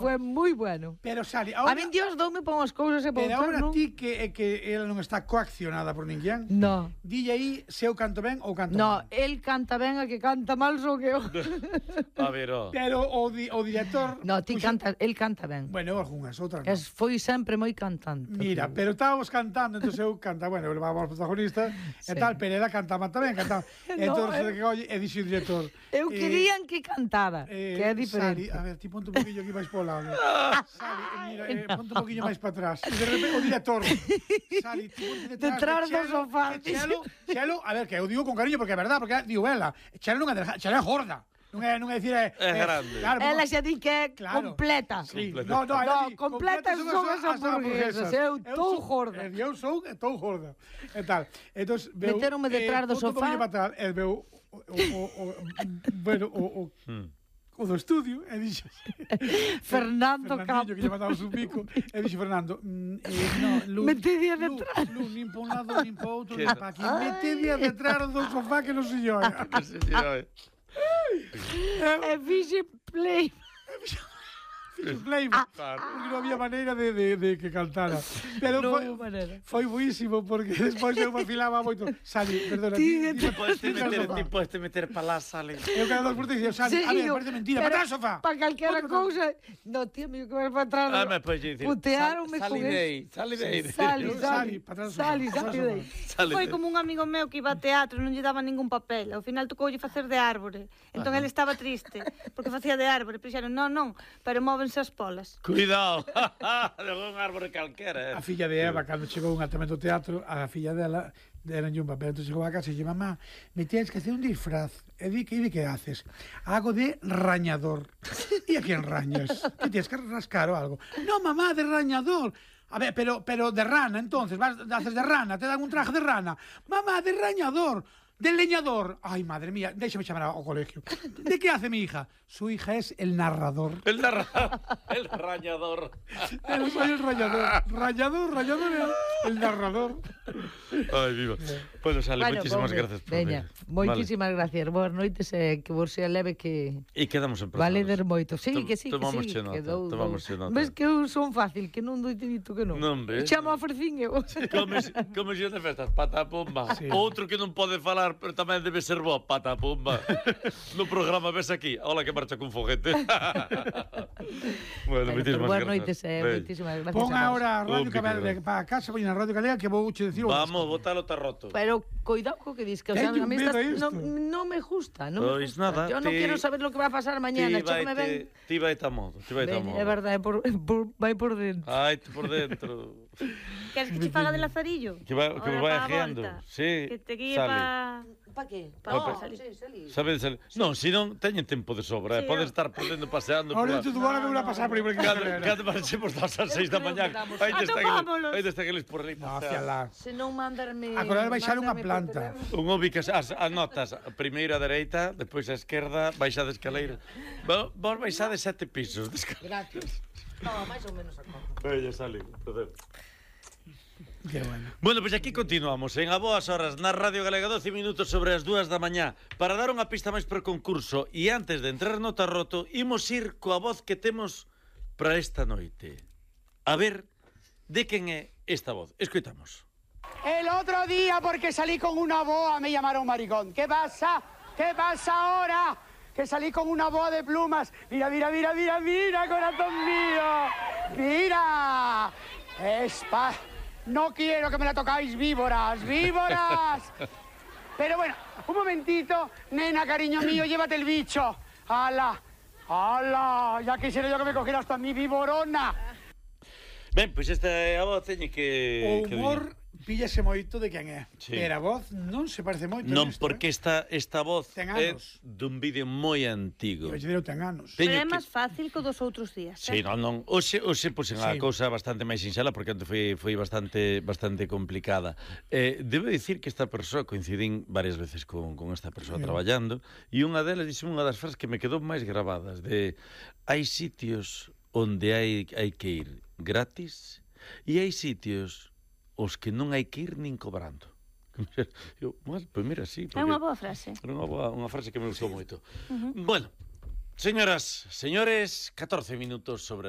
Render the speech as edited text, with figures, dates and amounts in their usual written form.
Foi moi bueno. Pero, Sali, A min Dios doume pon as cousas e pon pero agora non? ti que ela non está coaccionada por ninguén, No. dille aí se eu canto ben ou canto No, mal. el canta ben, a que canta mal sou que eu. A ver, ó. Pero o director... No, ti canta, el canta ben. Bueno, algunhas, outras non. Foi sempre moi cantante. Mira, pero estábamos cantando, entón eu canta, bueno, eu levaba aos protagonistas e tal, pero ela cantaba tamén, cantaba. Entón, e dixo o director... Eu querían que cantara, que é diferente. Sali, a ver, ti ponte un poquillo aquí máis pola lado. Sali, mira, ponte un poquillo máis para atrás. E de repente o director, Sali, ti ponte Detrás do sofá. Chelo, a ver, que eu digo con cariño porque é verdade, porque digo ela, Chelo non é gorda. Non é dicir é grande. Claro, Ela xa di que é claro, completa. Sí. Completa. No, completa son as hamburguesas. Eu estou gorda. Eu sou gorda. E tal. Entón, meteronme detrás do sofá. E veu bueno, o do estudio, e dixo Fernando Campos, que lle mandamos un bico, e dixo Fernando, no, Lu, metedía detrás. Lu, nin pa un lado, nin pa outro, nin pa aquí, metedía detrás do sofá que non se llora. E fixe play. Playback, porque non había maneira de que cantara. Pero foi buísimo, porque despois eu vacilaba moito. Sali, perdona, ti podes meter pa lá, Sali. Eu cada dos por ti dixo, Sali, a ver, parece mentira, para atrás, sofá. Para calquera cousa. No, tío, mío, que vai para atrás. Putearonme con eso. Sali, Foi como un amigo meu que iba a teatro, non lle daba ningún papel. Ao final tocoulle facer de árbore. Entón ele estaba triste, porque facía de árbore. Pero dixeron, non, pero móvense as polas. Cuidado, de un árbore calquera. A filla de Eva, cando chegou un atamento ao teatro, a filla dela deranlle un papel, entón chegou a casa e dixo, mamá, me tienes que hacer un disfraz. E di que haces? Hago de rañador. E a quen rañas? Que tienes que rascar ou algo? No, mamá, de rañador. A ver, pero de rana, entonces, haces de rana, te dan un traje de rana. Mamá, de rañador. Del leñador. Ay, madre mía, déjame llamar ao colegio. ¿De qué hace mi hija? Su hija es el narrador. El rañador. Pero soy el rayador. Rayador, el narrador. Ay, viva. Bueno, Sali, muchísimas gracias por venir. Moitísimas gracias. Boas noites, que vos sea leve que... E quedamos en prazo. Vale der moito. Sí, que sí, tomamos che nota. Ves que eu son fácil, que non doi te dito que non. Non ves? Chamo a Fercín eu. Como xe de festas, patapumba. Outro que non pode falar, pero tamén debe ser bo, patapumba. No programa ves aquí, hola que marcha cun foguete. Bueno, moitísimas gracias. Pon agora a Radio Galega para casa, voy na Radio Galega que vou che dicir. Vamos, botalo tarroto. Pero cuidado co que dis, que o sea, a mí non me gusta, non me gusta. Nada, yo non quero saber lo que va a pasar mañana, chécame ben. Ti vai ta modo, É verdade, vai por dentro. Ai, por dentro. Queres que te faga de lazarillo? Que me vai ajeando. Sí. Que te guíe pa... Pa que? Sabes, non, se non teñen tempo de sobra, podes estar por dentro paseando. Ahora tú agora me voy a pasar por aí. Cando marchemos das 6 da mañá, aí está aqueles por ali. Hacia lá. Se non mandarme... Agora baixar unha planta. Un ubicas as notas, a primeira a dereita, depois a esquerda, baixa de escaleira. Vos baixades 7 pisos. Gracias. No, máis ou menos a conta. Bella, Sali, placer. Qué bueno. Bueno, pois aquí continuamos en a boas horas na Radio Galega, 12 minutos sobre as 2 da mañá. Para dar unha pista máis para o concurso e antes de entrar no tarroto, imos ir coa voz que temos para esta noite. A ver de quen é esta voz. Escoitamos. El otro día, porque salí con una boa, me llamaron maricón. ¿Qué pasa? ¿Qué pasa ahora? Que salí con una boa de plumas. Mira, corazón mío. Mira. No quiero que me la tocáis, víboras. Pero bueno, un momentito. Nena, cariño mío, llévate el bicho. ¡Hala! Ya quisiera yo que me cogiera hasta mi víborona. Ben, pois esta é a voz, teñe que... O humor píllase moito de quen é. Sí. Pero a voz non se parece moito. Non, porque esta voz é dun vídeo moi antigo. Pero ten anos. Pero é máis fácil que dos outros días. Sí, non. Oxe puxen a cousa bastante máis sinxela, porque antes foi bastante complicada. Debo dicir que esta persoa, coincidín varias veces con esta persoa traballando, e unha delas dixo unha das frases que me quedou máis gravadas, de hai sitios onde hai que ir gratis e hai sitios os que non hai que ir nin cobrando. Eu, pues mira, sí. É unha boa frase. É unha frase que me gustou moito. Bueno, señoras, señores, 14 minutos sobre as